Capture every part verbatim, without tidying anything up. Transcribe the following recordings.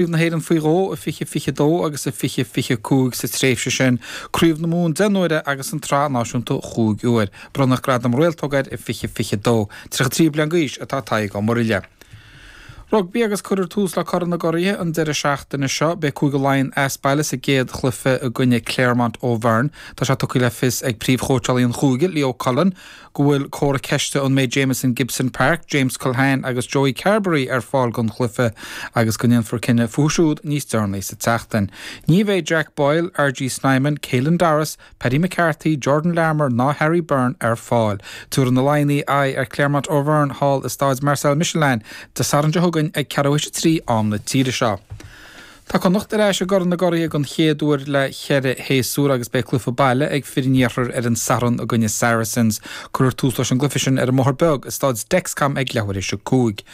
Craobh na hÉireann faoi dhó i fiche fiche dó agus i fiche fiche cúig sa tréimhse sin, Craobh na Mumhan deich n-uaire agus an tSraith Náisiúnta chúig uair. Bronnadh Gradam Réaltóg air i fiche fiche dó. Tríocha trí bliain d'aois atá Tadhg Ó Muraile. Rugbaí agus cuirfear tús le Corn na gCuraithe an deireadh seachtaine seo. Beidh Cúige Laighean as baile sa gcéad chluiche i gcoinne Clermont Auvergne. Tá sé tugtha le fios ag príomhchóitseálaí an chúige, Leo Cullen, go bhfuil comhartha ceiste an mbeidh Jamison Gibson-Park, James Culhane agus Joey Carbery ar fáil don chluiche agus go ndéanfar cinneadh fúthu siúd níos deireanaí sa tseachtain. Ní bheidh Jack Boyle, RG Snyman, Caelan Doris, Paddy McCarthy, Jordan Larmour ná Harry Byrne ar fáil. Tabharfaidh na Laighnigh aghaidh ar Clermont Auvergne thall i Staid Marcel Michelin Dé Sathairn seo chugainn ag ceathrú théis a trí am na tíre seo. Tá Connacht ar ais i gCorn na gCuraithe den chéad uair le ceithre shéasúr agus beidh cluiche baile ag fir an iarthair ar an Satharn i gcoinne Saracens. Cuirfear tús leis an gcluiche sin ar an mBóthar Beag i Staid Dexcom ag leathuair théis a cúig.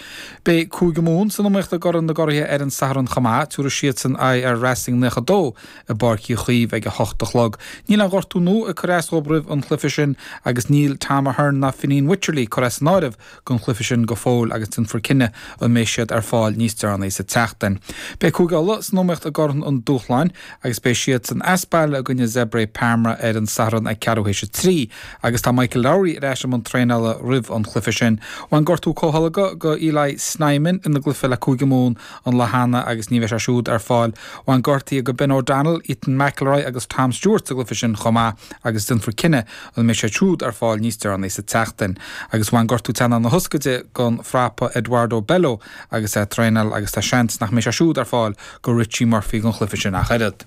Beidh Cúige Mumhan san iomaíocht i gCorn na gCuraithe ar an Satharn chomh maith. Tabharfaidh siadsan aghaidh ar Racing naocha dó i bPáirc Uí Chaoimh ag a hocht a chlog. Níl aon ghortú nua ag cur as dóibh roimh an chluiche sin agus níl Tom Ahern ná Fineen Wycherley curtha as an áireamh don chluiche sin go fóill agus déanfar cinneadh an mbeidh siad ar fáil níos deireanaí sa tseachtain. Beidh Cúige Uladh san iomaíocht i gCorn an Dúshláin agus beidh siadsan as baile i gcoinne Zebre Parma ar an Satharn ag ceathrú théis a trí agus tá Michael Lowry ar ais i mbun traenála roimh an chluiche sin. Bhain gortú comhtholgtha go Eli Snyman ina gcluiche le Cúige Mumhan an lá cheana agus ní bheidh sé siúd ar fáil. Bhain gortuithe go Ben O'Donnell, Ethan McIlroy agus Tom Stewart sa gcluiche sin chomh maith agus déanfar cinneadh an mbeidh siad siúd ar fáil níos deireanaí sa tseachtain. Agus bhain gortú teannán na hioscaide don phrapa Eduardo Bello agus é ag traenáil agus tá seans nach mbeidh sé siúd ar fáil go Richie Murphy don chluiche sin ach oiread.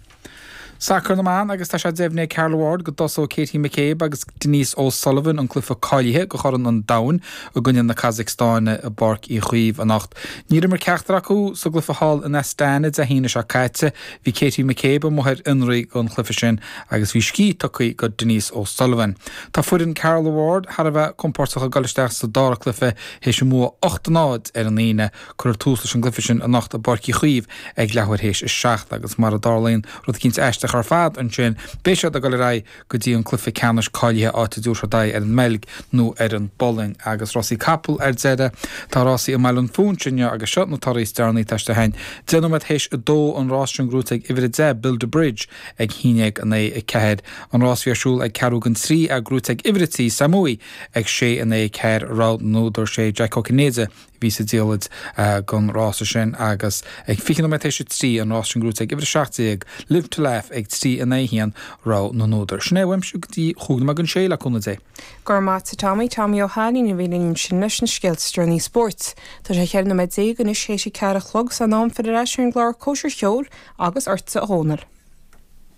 Sacar na mBan agus tá sé deimhnithe ag Carla Ward go dtosóidh Katie McCabe agus Denise O'Sullivan an cluiche cáilithe do Chorn an Domhain i gcoinne na Casacstáine i bPáirc Uí Chaoimh anocht. Níor imir ceachtar acu sa gcluiche thall in Astana Dé hAoine seo caite. Bhí Katie McCabe amuigh ar fhionraí don chluiche sin agus bhí scíth tugtha go Denise O'Sullivan. Tá foireann Carla Ward thar a bheith compordach ag dul isteach sa dara cluiche théis a mbua ocht a náid ar an Aoine. Cuirfear tús leis an gcluiche sin anocht i bPáirc Uí Chaoimh ag leathuair théis a seacht agus mar a dtarlaíonn rud eicínt aisteach ar fad ansin beidh siad ag dul ar aghaidh go dtí an cluiche ceannais cáilithe áit a dtabharfaidh siad aghaidh ar an mBeilg nó ar an bPolainn agus rásaí capall ar deireadh. Tá rásaí i mBaile an Phúinse inniu agus seo na torthaí is deireanaí atá istigh againn. Deich nóiméad théis a dó an rás sin gnóite ag uimhir a deich Build a Bridge ag haon déag in aghaidh a ceathair. An rás a bhí ar siúl ag ceathrú don trí é gnóite ag uimhir a trí Samui ag sé in aghaidh a ceathair rogha na n-údar sé Jack Ó Cinnéide a bhí sa diallait don rása sin agus ag fiche nóiméad théis a trí an rás sin gnóite ag uimhir a seacht déag Live to Laugh ag trí in aghaidh a haon rogha na n-údar. Sin é uaimse go dtí chúig nóiméad don sé le cúnamh Dé. Go raibh maith agat a Tommy, Tommy Ó hAinnín a bhí linn ansin leis na scéalta is deireanaí spóirt. Tá sé cheithre nóiméad déag anois théis a ceathair a chlog san am filleadh ar ais ar an gclár Cóisir Cheoil agus ortsa a Dhónaill.